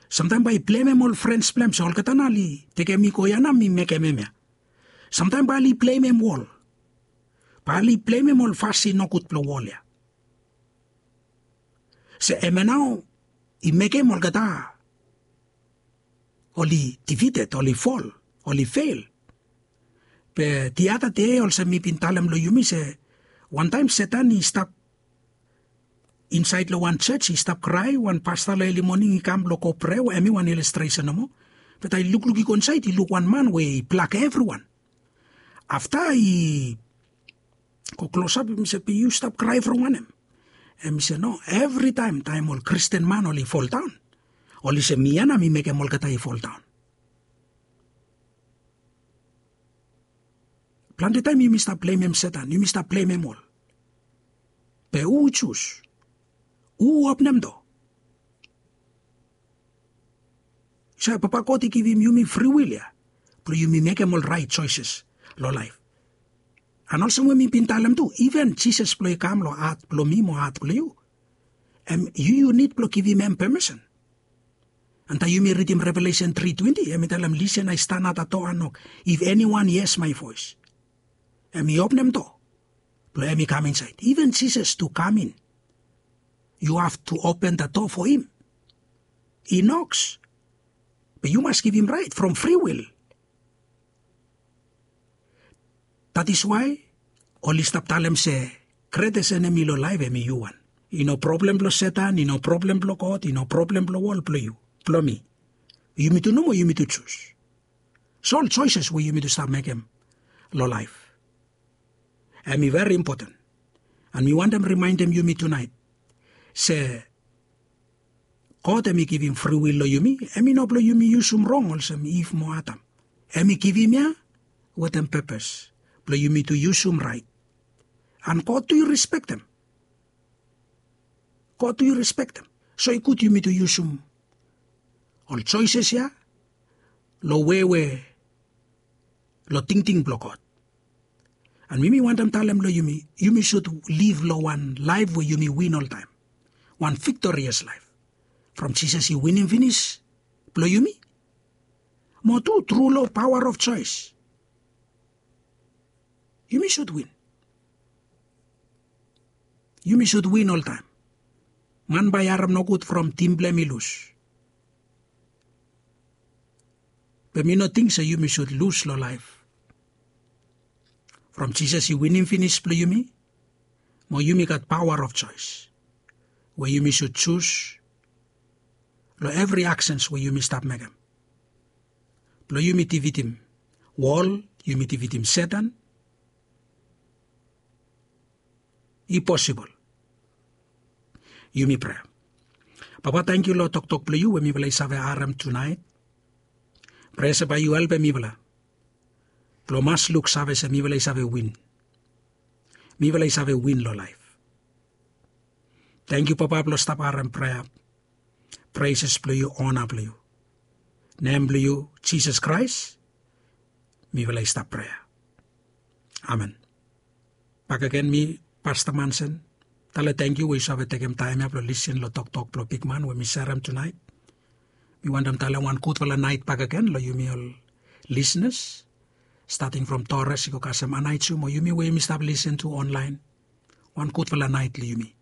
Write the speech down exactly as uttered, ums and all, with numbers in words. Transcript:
Samtaem bae i blemem ol frens blong hem se olgeta nao oli tekem mi go ia nao mi mekem hemia. Samtaem bae oli blemem wol, bae oli blemem ol fasin nogud blong wol ia. Se hemia nao i mekem olgeta oli difited, oli fol, oli fel. Be diada dei olsem mi bin talem long yumi se wantaem setan i stap insaed long wan joj, i stap krae, wan pasta long eli moning i kam blong go prea we hem i wan ilestresen nomo. Be taem i lukluk i go insaed i luk wan man we i blak evriwan. Afta i go klosap, mi se be yu stap krae from wanem? Hem i se no, evritaem taem ol kristin man oli foldaon, oli se mi ya nao mi mekem olgeta i foldaon. Plante taem yumi stap blemem setan, yumi stap blemem ol. Be hu jus? Hu openem doa? Yu save papa god i givim yumi friwil ya blong yumi mekem ol raet joeses long laef. An olsem we mi bin talem tu, iven jisas blong i kam long hat blong mi mo hat blong yu, hem yu yu nid blong givim hem pemesen. An taem yumi ridim revelesen tri twenti hem i talem lisen ai stan ata doa an nok, if eniwan yes mae voes, hem i openem doa blong hem i kam insaed. Iven jisas tu kam in, yu have tu open da doa fo him. I noks, be yu mas givim raet from friwil. That is wae oli stap talem se gretes enemi long laef hem i yu wan. I no problem blong setan, i no problem blong god, i no problem blong wol, blong yu, blong mi. Yumi tu nomo yumi tu jus. So ol joeses we yumi tu stap mekem long laef, hem i veri impoten. An mi wantem rimaendem yumi tunaet se god hem i givim friwil long yumi, hem i no blong yumi yusum rong olsem iv mo adam. Hem i givim ya wetem pepes blong yumi tu yusum raet. An god tu i rispektem. God tu yu rispektem. So i gud yumi tu yusum ol joeses ya long wei we long tingting blong god. An mi mi wantem talem long yumi, yumi sud liv long wan laef we yumi win oltaem, wan viktorias laef. From jisas i winim finis blong yumi, mo tu tru long paoa of joes yumi sud win. Yumi sud win oltaem. Man bae i harem nogud from tim blong hem i lus. Be mi no ting se yumi sud lus long laef. From jisas i winim finis blong yumi, mo yumi gat paoa of joes we yumi sud jus long evri aksens we yumi stap mekem blong yumi dividim wol, yumi dividim setan. I posibol. Yumi prea. Papa, tangkiu long toktok blong yu we mifala i save harem tunaet. Prea se bae yu helpem mifala blong mas luksave se mifala i save win. Mifala i save win long laef. Tangkiu papa blong stap harem prea, preses blong yu, ona blong yu, nem blong yu jisas kraes, mifala i stap prea. Amen. Bakegen mi pasta mansen, tale tangkiu we yu save tekem taem ya blong lisin long toktok blong bikman we mi serem tunaet. Mi wantem tale wan gudfala naet bakegen long yumi ol lisinas, stating from tores i go kasem anaetu mo yumi we yumi stap lisin tu onlaen. Wan gudfala naet long yumi.